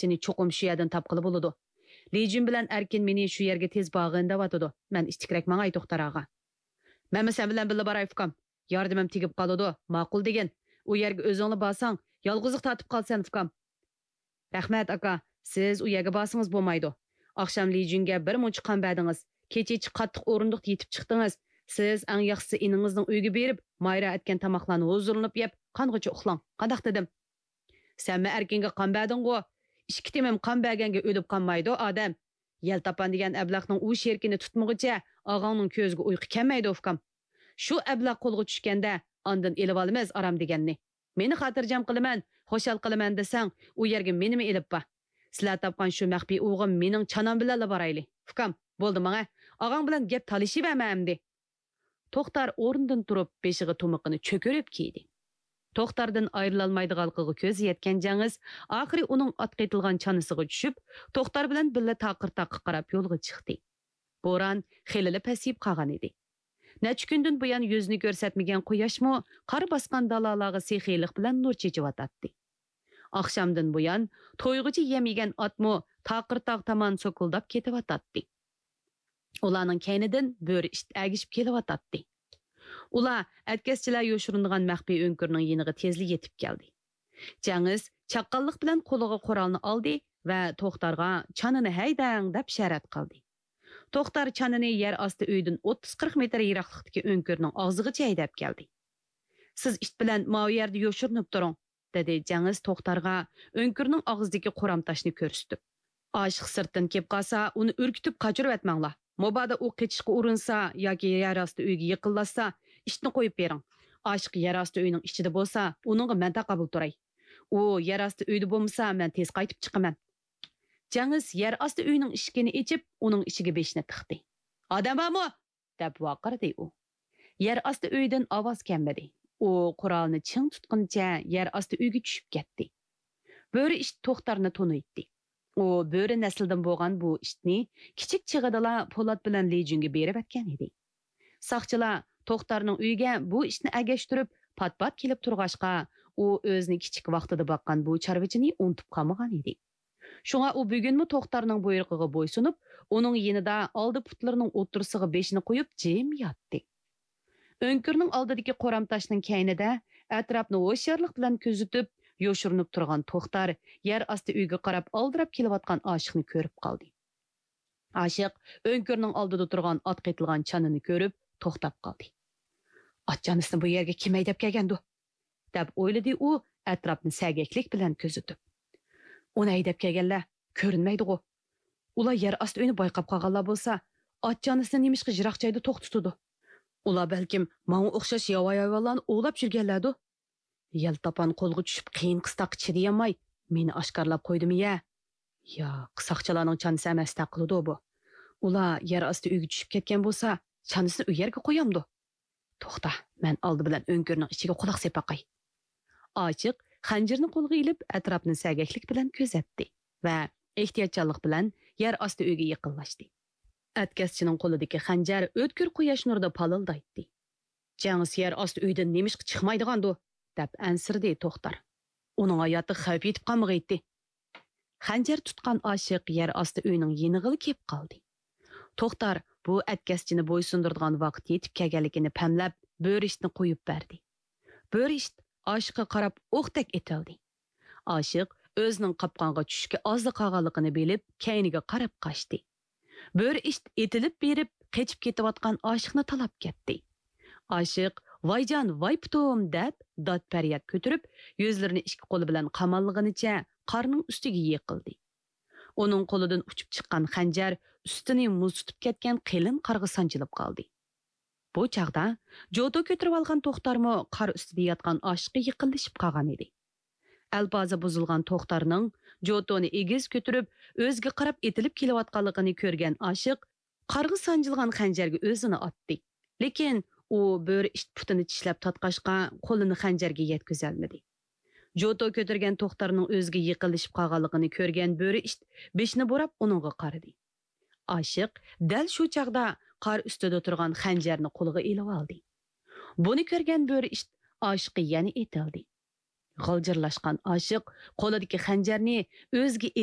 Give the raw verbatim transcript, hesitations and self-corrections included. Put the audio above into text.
ئەكەشنى چوقۇم شۇ يەردىن تاپقىلى بولىدۇ. لىجۈن بىلەن ئەركىن مېنى شۇ يەرگە تېز بارغىن دەۋاتىدۇ. مەن ئىتتىكرەك ماڭاي، توختار ئاغا. مەنمۇ سەن بىلەن بىللە باراي، ئۇكام. ياردىمىم تېگىپ قالىدۇ، ماقۇل دېگىن. ئۇ يەرگە ئۆزۈڭلا بارساڭ، يالغۇزلۇق تارتىپ قالىسەن، ئۇكام. رەھمەت، ئاكا. سىز ئۇ يەرگە بارسىڭىز بولمايدۇ. ئاخشام لىجۈنگە بىر مۇنچە قان بەردىڭىز. كېچىچە قاتتىق ئورۇندۇقتا يېتىپ چىقتىڭىز. سىز ئەڭ ياخشىسى ئىنىڭىزنىڭ ئۆيىگە بېرىپ، مايرا ئەتكەن تاماقلارنى ھۇزۇرلىنىپ يەپ، قانغىچە ئۇخلاڭ. قانداق دېدىم؟ سەنمۇ ئەركىنگە قان بەردىڭغۇ؟ ئىككى تېمىم قان بەرگەنگە ئۆلۈپ قالمايدۇ ئادەم. يەلتاپان دېگەن ئەبلەخنىڭ ئۇ شېرىكىنى تۇتمىغۇچە ئاغاڭنىڭ كۆزىگە ئۇيقۇ كەلمەيدۇ، ئۇكام. شۇ ئەبلەخ قولغا چۈشكەندە، ئاندىن ئېلىۋالىمىز ئارام دېگەننى. مېنى خاتىرجەم قىلىمەن، خۇشال قىلىمەن دېسەڭ، ئۇ يەرگە مېنىمۇ ئېلىپ بار. سىلەر تاپقان شۇ مەخپىي ئوغۇم مېنىڭ چانام بىلەنلا بارايلى. ئۇكام، بولدى ماڭە، ئاغاڭ بىلەن گەپ تالىشىۋەرمە ئەمدى. توختار ئورنىدىن تۇرۇپ، بېشىغا تۇمىقىنى چۆكۈرۈپ كىيدى. توختاردىن ئايرىلالمايدىغانلىقىغا كۆزى يەتكەن جېڭىز ئاخىرى ئۇنىڭ ئاتقا ئېتىلغان چانىسىغا چۈشۈپ، توختار بىلەن بىللە تاقىر تاغقا قاراپ يولغا چىقتى. بوران خېلىلا پەسىيىپ قالغان ئىدى. نەچچە كۈندىن بۇيان يۈزىنى كۆرسەتمىگەن قۇياشمۇ قار باسقان دالالارغا سېخىيلىق بىلەن نۇر چېچىۋاتاتتى. ئاخشامدىن بۇيان تويغۇچە يەم يېگەن ئاتمۇ تاقىر تاغ تامان سوكۇلداپ كېتىۋاتاتتى. ئۇلارنىڭ كەينىدىن بۆرە ئىت ئەگىشىپ كېلىۋاتاتتى. ئۇلار ئەتكەسچىلەر يوشۇرۇنىدىغان مەخپىي ئۆڭكۈرنىڭ يېنىغا تېزلا يېتىپ كەلدى. جەڭىز چاققانلىق بىلەن قولىغا قورالنى ئالدى ۋە توختارغا «چانىنى ھەيدەڭ» دەپ ئىشارەت قىلدى. توختار چانىنى يەر ئاستى ئۆيدىن ئوتتۇز قىرىق مېتىر يىراقلىقتىكى ئۆڭكۈرنىڭ ئاغزىغىچە ھەيدەپ كەلدى. «سىز ئىت بىلەن ماۋۇ يەردە يوشۇرۇنۇپ تۇرۇڭ» دېدى جەڭىز توختارغا ئۆڭكۈرنىڭ ئاغزىدىكى قورام تاشنى كۆرسىتىپ. «ئاشىق سىرتتىن كېلىپ قالسا، ئۇنى ئۈركۈتۈپ قاچۇرۇۋەتمەڭلار. مۇبادا ئۇ قېچىشقا ئۇرۇنسا ياكى يەر ئاستى ئۆيگە يېقىنلاشسا، ئىتنى قويۇپ بېرىڭ. ئاشىق يەر ئاستى ئۆينىڭ ئىچىدە بولسا، ئۇنىڭغا مەن تاقابىل تۇراي. ئۇ يەر ئاستى ئۆيدە بولمىسا، مەن تېز قايتىپ چىقىمەن.» جەڭىز يەر ئاستى ئۆينىڭ ئىشىكىنى ئېچىپ، ئۇنىڭ ئىچىگە بېشىنى تىقتى. «ئادەم بارمۇ؟» دەپ ۋارقىرىدى ئۇ. يەر ئاستى ئۆيدىن ئاۋاز كەلمىدى. ئۇ قورالىنى چىڭ تۇتقىنىچە يەر ئاستى ئۆيگە چۈشۈپ كەتتى. بۆرە ئىت توختارنى تونۇيتتى. ئۇ بۆرە نەسلىدىن بولغان بۇ ئىتنى كىچىك چېغىدىلا پولات بىلەن لىجۈنگە بېرىۋەتكەن ئىدى. ساقچىلار توختارنىڭ ئۆيىگە بۇ ئىتنى ئەگەشتۈرۈپ، پات-پات كېلىپ تۇرغاچقا، ئۇ ئۆزىنى كىچىك ۋاقتىدا باققان بۇ چارۋىچىنى ئۇنتۇپ قالمىغان ئىدى. شۇڭا ئۇ بۈگۈنمۇ توختارنىڭ بۇيرۇقىغا بويسۇنۇپ، ئۇنىڭ يېنىدا ئالدى پۇتلىرىنىڭ ئوتتۇرىسىغا بېشىنى قويۇپ جىم ياتتى. ئۆڭكۈرنىڭ ئالدىدىكى قورام تاشنىڭ كەينىدە ئەتراپنى ھوشيارلىق بىلەن كۆزىتىپ، يوشۇرۇنۇپ تۇرغان توختار يەر ئاستى ئۆيگە قاراپ ئالدىراپ كېلىۋاتقان ئاشىقنى كۆرۈپ قالدى. ئاشىق ئۆڭكۈرنىڭ ئالدىدا تۇرغان ئاتقا ئېتىلغان چانىنى كۆرۈپ توختاپ قالدى. «ئات چانىسىنى بۇ يەرگە كىم ھەيدەپ كەلگەندۇ؟» دەپ ئويلىدى ئۇ ئەتراپنى سەگەكلىك بىلەن كۆزىتىپ. «ئۇنى ھەيدەپ كەلگەنلەر كۆرۈنمەيدىغۇ؟ ئۇلار يەر ئاستى ئۆينى بايقاپ قالغانلار بولسا، ئات چانىسىنى نېمىشقا يىراق جايدا توختىتىدۇ؟ ئۇلار بەلكىم ماڭا ئوخشاش ياۋايى ھايۋانلارنى ئوۋلاپ يۈرگەنلەردۇ؟» يەلتاپان قولغا چۈشۈپ قىيىن قىستاققا چىدىيالماي، مېنى ئاشكارىلاپ قويدىمۇ يە؟ ياق، ساقچىلارنىڭ چانىسى ئەمەستە قىلىدۇ بۇ. ئۇلار يەر ئاستى ئۆيگە چۈشۈپ كەتكەن بولسا، چانىسىنى ئۇ يەرگە قويامدۇ؟ توختا، مەن ئالدى بىلەن ئۆڭكۈرنىڭ ئىچىگە قۇلاق سېلىپ باقاي. ئاشىق خەنجىرىنى قولىغا ئېلىپ، ئەتراپنى سەگەكلىك بىلەن كۆزەتتى ۋە ئېھتىياتچانلىق بىلەن يەر ئاستى ئۆيگە يېقىنلاشتى. ئەتكەسچىنىڭ قولىدىكى خەنجەر ئۆتكۈر قۇياش نۇرىدا پالىلدايتتى. جەڭ سىيەر ئاستى ئۆيدىن نېمىشقا چىقمايدىغاندۇ؟ دەپ ئەنسىرىدى توختار. ئۇنىڭ ھاياتىغا خەۋپ يېتىپ قالمىغىيتتى. خەنجەر تۇتقان ئاشىق يەر ئاستى ئۆينىڭ يېنىغىلا كېلىپ قالدى. توختار بۇ ئەتكەسچىنى بويسۇندۇرىدىغان ۋاقىت يېتىپ كەلگەنلىكىنى پەملەپ، بۆرە ئىتنى قويۇپ بەردى. بۆرە ئىت ئاشىققا قاراپ ئوقتەك ئېتىلدى. ئاشىق ئۆزىنىڭ قاپقانغا چۈشۈشكە ئازلا قالغانلىقىنى بىلىپ، كەينىگە قاراپ قاچتى. بۆرە ئىت ئېتىلىپ بېرىپ، قېچىپ كېتىۋاتقان ئاشىقنى تالاپ كەتتى. ئاشىق «ۋايجان، ۋاي پۇتۇم» دەپ، داد-پەرياد كۆتۈرۈپ، يۈزلىرىنى ئىككى قولى بىلەن قاماللىغىنىچە قارنىڭ ئۈستىگە يىقىلدى. ئۇنىڭ قولىدىن ئۇچۇپ چىققان خەنجەر ئۈستىنى مۇز تۇتۇپ كەتكەن قېلىن قارغا سانجىلىپ قالدى. بۇ چاغدا جوتو كۆتۈرۈۋالغان توختارمۇ قار ئۈستىدە ياتقان ئاشىققا يېقىنلىشىپ قالغان ئىدى. ئەلپازى بۇزۇلغان توختارنىڭ جوتونى ئېگىز كۆتۈرۈپ، ئۆزىگە قاراپ ئېتىلىپ كېلىۋاتقانلىقىنى كۆرگەن ئاشىق قارغا سانجىلغان خەنجەرگە ئۆزىنى ئاتتى. لېكىن ئۇ بۆرە ئىت پۇتىنى چىشلەپ تارتقاچقا، قولىنى خەنجەرگە يەتكۈزەلمىدى. جوتو كۆتۈرگەن توختارنىڭ ئۆزىگە يېقىنلىشىپ قالغانلىقىنى كۆرگەن بۆرە ئىت بېشىنى بۇراپ ئۇنىڭغا قارىدى. ئاشىق دەل شۇ چاغدا قار ئۈستىدە تۇرغان خەنجەرنى قولىغا ئېلىۋالدى. بۇنى كۆرگەن بۆرە ئىت ئاشىققا يەنە ئېتىلدى. غالجىرلاشقان ئاشىق قولىدىكى خەنجەرنى ئۆزىگە